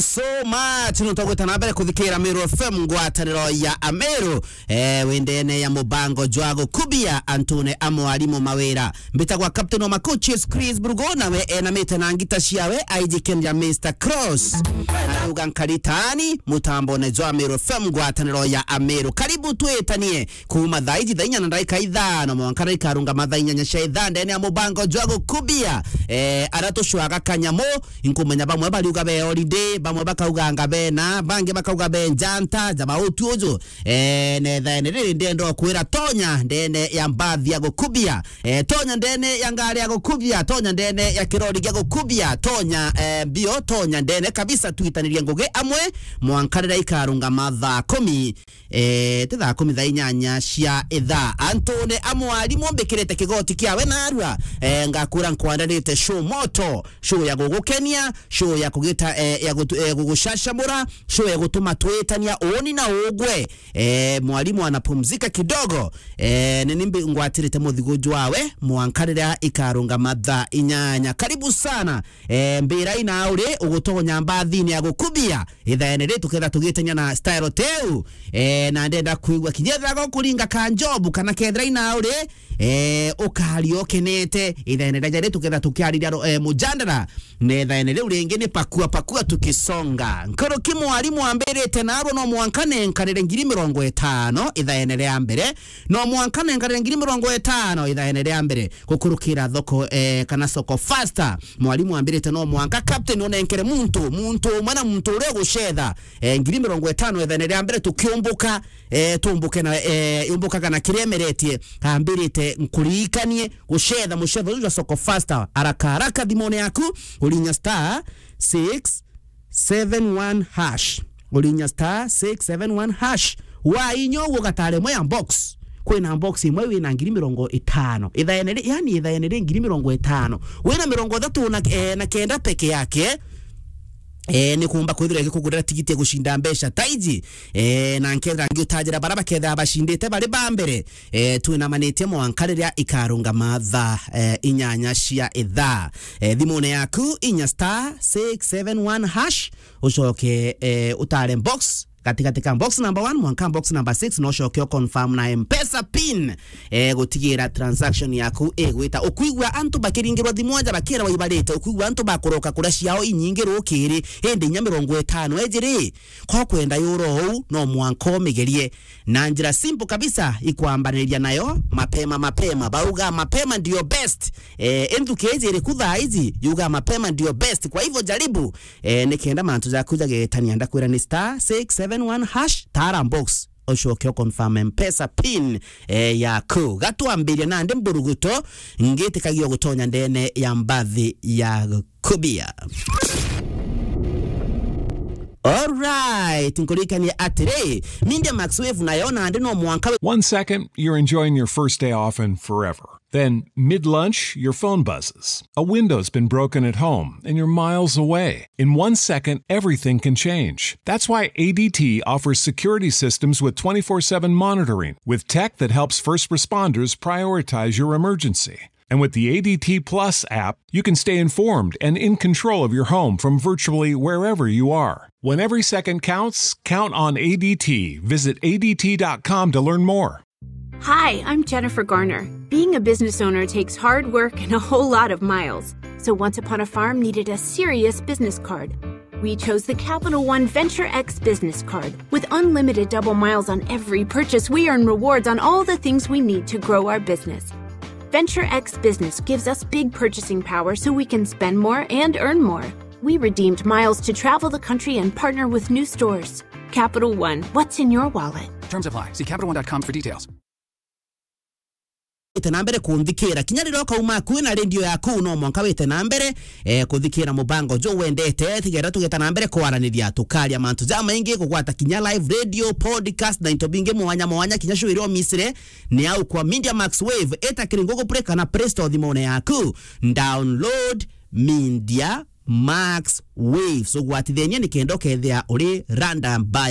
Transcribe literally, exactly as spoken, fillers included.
so much. Nontu gwita na mbere kuthikira Meru F M, ngwataniro ya Ameru. Eh, wendene ya mubango jwa gukubia antune a mwarimu mawira. Mbitagwa Captain wa Makuchis Chris Brugo, nawe enamite na ngita ciawe, aijikenia Mister Cross. Arauga nkaritani, mutambone jwa Meru F M, ngwataniro ya Ameru. Karibu twitanie. Kuuma thaa iji thaa inya na ndagika ithano mwanka rikarungama thaa inyanya cia ithaa ndene ya mubango jwa gukubia. Eh, ara tucwaga kanyamu, inkumenya bamwe bariuga be holiday, bamwe bakauganga bena, bangi bakauga be njanta, jaba utu uju. Eh, na ithaene riri ndenda kwira tonya ndene ya mbathi ya gukubia. Eh, tonya ndene ya ngari ya gukubia, tonya ndene ya kirori gia gukubia, tonya, eh, mbio, tonya ndene kabisa twitanirie ngugi amwe mwanka riria ikarungama thaa kumi. Eh, ti thaa kumi thaa inyanya cia ithaa. Antune a mwarimu mbikirite kigoti kiawe narua. Eh, ngakura nkwandanite show moto, show ya gugukenia, show ya kugita, eh, ya gutu-, eh, gugucacamura, show ya gutuma twitania uuni na ugwe. Eh, mwarimu anapumzika kidogo. Eh, ni nimbi ngwatirite muthigu jwawe mwanka riria ikarungama thaa inyanya. Karibu sana. Eh, mbira ina uri ugutonya mbathini ya gukubia. Ithaene ri tuketha tugitenya na style teu. Eh, na ndenda kwigua kinya ethira gokuringa ka njobu kana kethira ina uri, eh, ukari ukenete. Ithaene rija ri tuketha tukiariria ro-, eh, mujandara. Na ithaene riu ringi ni pakua pakua tukisonga. Nkuruki mwarimu ambirite narua no mwanka nenkanire ngiri mirongo itano ithaene ria mbere. No mwanka nenkanire ngiri mirongo itano ithaene ria mbere. Gukurukira thoko, eh, kana soko faster. Mwarimu ambirite no mwanka captain unenkere muntu, muntu umwe na muntu uria ugucetha, eh, ngiri mirongo itano ethene ria mbere tukiumbuka, eh, tumbuke na, eh, umbukaga na kiria emeretie. Ambirite nkuririkanie gucetha mucetho uju jwa soko faster. Haraka haraka thimone yaku, urinya star six seven one hash. Urinya star six seven one hash. Wainya uguo gatare imwe ya box. Kwina box imwe wina ngiri mirongo itano. Ithaene ri-, yani ithaene ri ngiri mirongo itano. Wina mirongo ithatu na, eh, na kenda peke yake. Eh, ni kumba kwithirwa igikugurira tigiti ya gucinda mbeca ta iji. Eh, na nkethira ngi utajira bara bakethira bacindite bari ba mbere. Eh, twinamanitie mwanka riria ikarungama thaa, eh, inyanya cia ithaa. Eh, thimune yaku, inya star six seven one hash, ucoke, eh, utare box, gatigati ka box number one mwanka box number six, na ucoke u confirm na M-Pesa pin, eh, gutigira transaction yaku igwita. Ukwigua antu bakiringirwa thimu aja bakirwa ibarite, ukwigua antu bakuroka kuria ciao inyingi rukiri, indi inya mirongo itano ejiri, ko kwenda yuro uu, no mwanka umigerie. Na njira simple kabisa ikwambaniria nayo mapema mapema. Bauga mapema ndio best. Eh, enthuki iji iriku thaa iji, yuga mapema ndio best. Kwa hivyo jaribu, eh, nikenda mantu jaku jagetania. Ndakwira ni star six seven one hash, tara box, ucoke u confirm M-Pesa pin, eh, yaku. Gatwambiria nandi mburuguto, ngitikagia gutonya ndene ya mbathi ya kubia. Alright, nkuririkanie atiri, Media Max Wave nayo nandi no mwanka we- One second, you're enjoying your first day off and forever. Then, mid-lunch, your phone buzzes. A window's been broken at home and you're miles away. In one second, everything can change. That's why A D T offers security systems with twenty-four seven monitoring, with tech that helps first responders prioritize your emergency. And with the A D T Plus app, you can stay informed and in control of your home from virtually wherever you are. When every second counts, count on A D T. Visit A D T dot com to learn more. Hi, I'm Jennifer Garner. Being a business owner takes hard work and a whole lot of miles. So Once Upon a Farm needed a serious business card. We chose the Capital One Venture X business card. With unlimited double miles on every purchase, we earn rewards on all the things we need to grow our business. Venture X Business gives us big purchasing power so we can spend more and earn more. We redeemed miles to travel the country and partner with new stores. Capital One, what's in your wallet? Terms apply. See Capital One dot com for details. Wite na mbere kunthikira. Kinya riria ukauma akui na radio yaku, no mwanka wite na mbere, eh, kuthikira mubango jo wendete, tigera tugeta na mbere kwaraniria, tukaria mantu jamaingi, kugwata kinya live radio, podcast, na into bingi mwanya mwanya, kinya show iria umisire, ni au kwa Media Max Wave, eta kiri Google Play kana Play Store thimone yaku, download Media Max Wave. So gwatithenia ni kenda ukethia uri randa mbaya.